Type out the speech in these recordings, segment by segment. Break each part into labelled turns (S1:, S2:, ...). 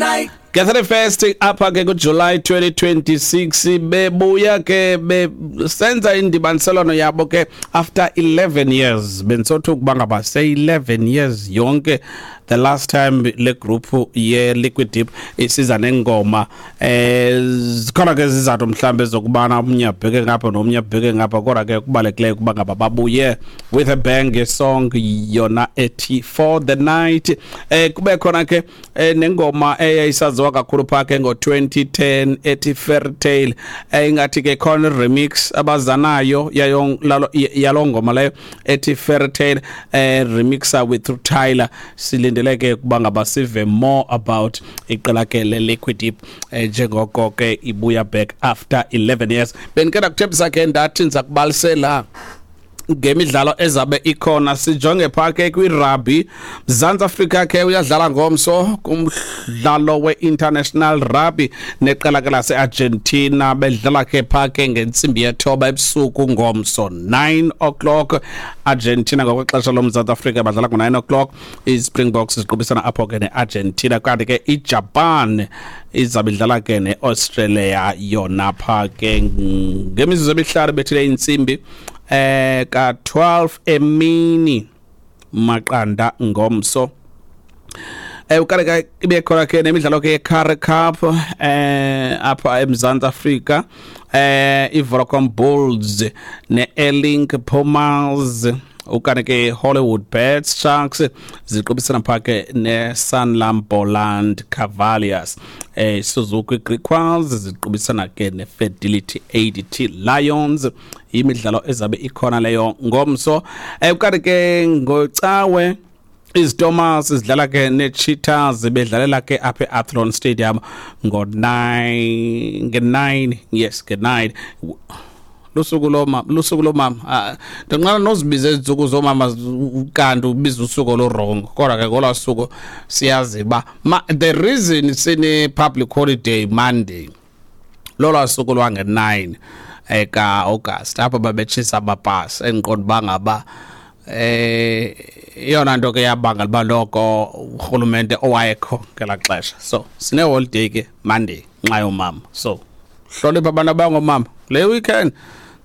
S1: night.
S2: Nge-31st apha ke kuJuly 2026 bebuya ke besenza indibaniselwano yabo ke after 11 years. Bendisothuka ukuba ngaba se-11 years yonke the last time le group ye Liquid Deep isiza nengoma. Zikhona ke izizathu mhlambe zokubana omnye abheke ngapha nomnye abheke ngapha, kodwa ke kubalulekileyo ukuba ngaba babuye with a bang song yona ethi "For the Night". Kube khona ke nengoma eyayisaziwa kakhulu phaa ke ngo-2010 ethi "Fairy Tale". Ingathi ke khona remix abazanayo yayo yalo ngoma leyo ethi "Fairy Tale", remixa with Tyler. Silindele ke ukuba ngaba sive more about iqela ke le Liquid Deep njengoko ke ibuya back after 11 years. Bendike ndakuthembisa ke, ndathi ndiza kubalisela ngemidlalo ezabe ikhona. Sijonge phaa ke kwirugby. Mzantsi Afrika ke uyadlala ngomso kumdlalo we-international rugby neqela ke lase-Argentina. Bedlala ke phaa ke ngentsimbi yethoba ebusuku ngomso, 9 o'clock Argentina. Ngokwexesha loMzantsi Afrika badlala ngo-9 o'clock. I-Springboks ziqubisana apho ke ne-Argentina, kanti ke iJapan izabe idlala ke ne-Australia yona phaa ke ngemizuzu emihlanu bethile intsimbi ka-12 emini maqanda ngomso. Ukanti ke ibe khona ke nemidlalo ke ye-Currie Cup apha eMzantsi Afrika, iVodacom Bulls ne-Airlink Pumas, ukanti ke Hollywood Bets Sharks ziqubisana phaa ke ne-Sanlam Boland Cavaliers. Suzuki Griquas ziqubisana ke ne-Fidelity ADT Lions. Imidlalo ezabe ikhona leyo ngomso. Ukanti ke ngocawe iZitomers zidlala ke ne-Cheetahs, bedlalela ke apha e-Athlone Stadium ngo-9, nge-9, yes, nge-9, lusuku lomama, lusuku lomama. Ah, ndinqala nozibiza ezintsuku zoomama, kanti ubiza usuku olu-wrong, kodwa ke ngolwaa suku siyazi uba the reason sine-public holiday Monday lolwaa suku lwange-9 eka-August apho babetshisa amabhasi. Endiqonda uba ngaba iyona nto ke yabangela uba noko urhulumente owayekho ngelaa xesha, so sine-holiday ke Monday nxa yoomama. So hlonipha abantu abangoomama le weekend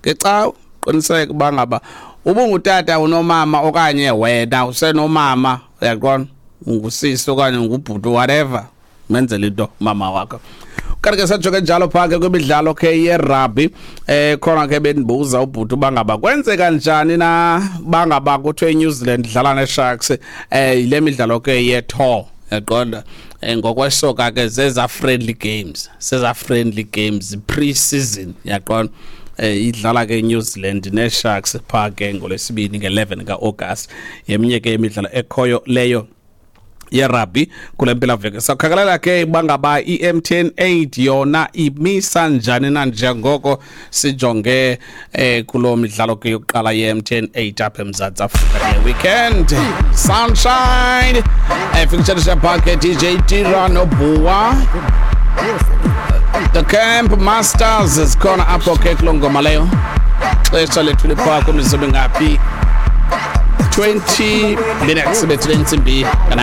S2: ngecawe. Qiniseka uba ngaba ubungutata unomama okanye wena usenomama, uyaqonda, ungusisi okanye ungubhuti, whatever, menzele into mama wakho. Kanti ke sajonge njalo phaa ke kwimidlalo ke yerugby. Khona ke bendibuza ubhuti uba ngaba kwenzeka njani na bangaba kuthiwe iNew Zealand idlala neSharks. Yile midlalo ke ye-tour, yaqonda, ngokwesoka ke zeza friendly games, zeza friendly games, pre-season, yaqonda. Idlala ke New Zealand neSharks phaa ke ngolwesibini nge-11 ka-August. Yeminye ke imidlalo ekhoyo leyo yerugby kule mpelaveki. Sakhakalela ke bangaba i-MTN 8 yona imisa njani na njengoko sijonge kuloo midlalo ke yokuqala ye-MTN 8 apha eMzantsi Afrika le weekend. Sunshine featuring phaa DJ Tira noBua, The Camp Masters zikhona apho ke kuloo ngoma leyo. Xesha lethu liphaa kwimizuzu ngaphi? 20 minutes bethule intsimbi ka-9.